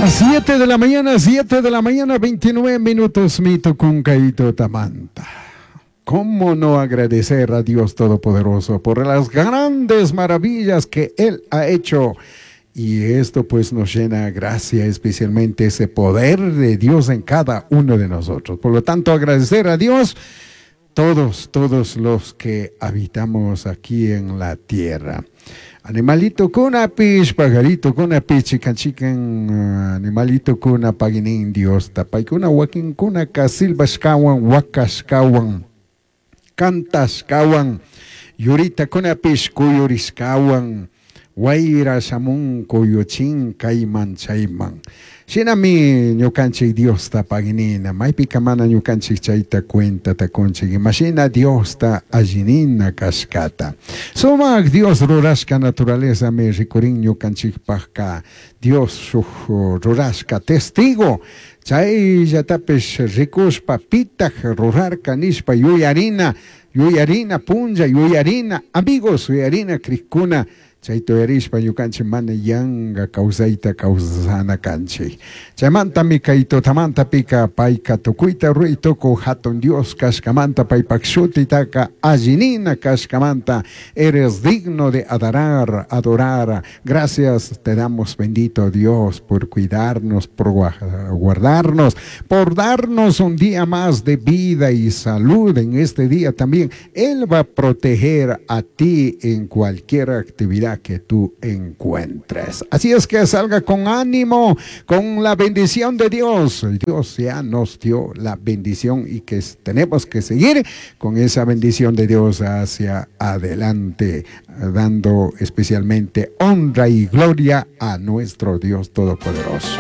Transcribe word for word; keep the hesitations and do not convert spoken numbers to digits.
Las siete de la mañana, siete de la mañana, veintinueve minutos, mito con tamanta. ¿Cómo no agradecer a Dios Todopoderoso por las grandes maravillas que Él ha hecho? Y esto pues nos llena gracia, especialmente ese poder de Dios en cada uno de nosotros. Por lo tanto, agradecer a Dios todos, todos los que habitamos aquí en la tierra. Animalito kunapish, pajarito kunapish, chikan chikan animalito kuna pagui nin Diosta. Paicuna wakinkunaka silbashkawan, wakashkawan, cantashkawan, yuritakunapish kuyurishkawan, wayra shamun kuyuchin kayman chayman. Shinami ñukanchik Diosta pagui nina, maypika mana ñukanchik chayta cuentata kunchik, imashina Diosta alli nina kashkata. Sumak Dios rurashka naturalezami rikurin ñukanchikpakka Dios shuk rurashka testigo, chayllatapish rikushpa pitak rurarka nishpa yuyarina, yuyarina punlla, yuyarina amigos, yuyarina crikkuna, chayta yuyarishpa ñukanchik mana yanka kawsayta kawsana kanchik. Chaymantami kay tutamantapika payka tukuyta ruray tukuy hatun Dios kashkamanta paypak shutitaka alli nina kashkamanta eres digno de adorar, adorar. Gracias te damos, bendito Dios, por cuidarnos, por guardarnos, por darnos un día más de vida y salud en este día también. Él va a proteger a ti en cualquier actividad que tú encuentres. Así es que salga con ánimo, con la bendición de Dios. Dios ya nos dio la bendición y que tenemos que seguir con esa bendición de Dios hacia adelante, dando especialmente honra y gloria a nuestro Dios Todopoderoso.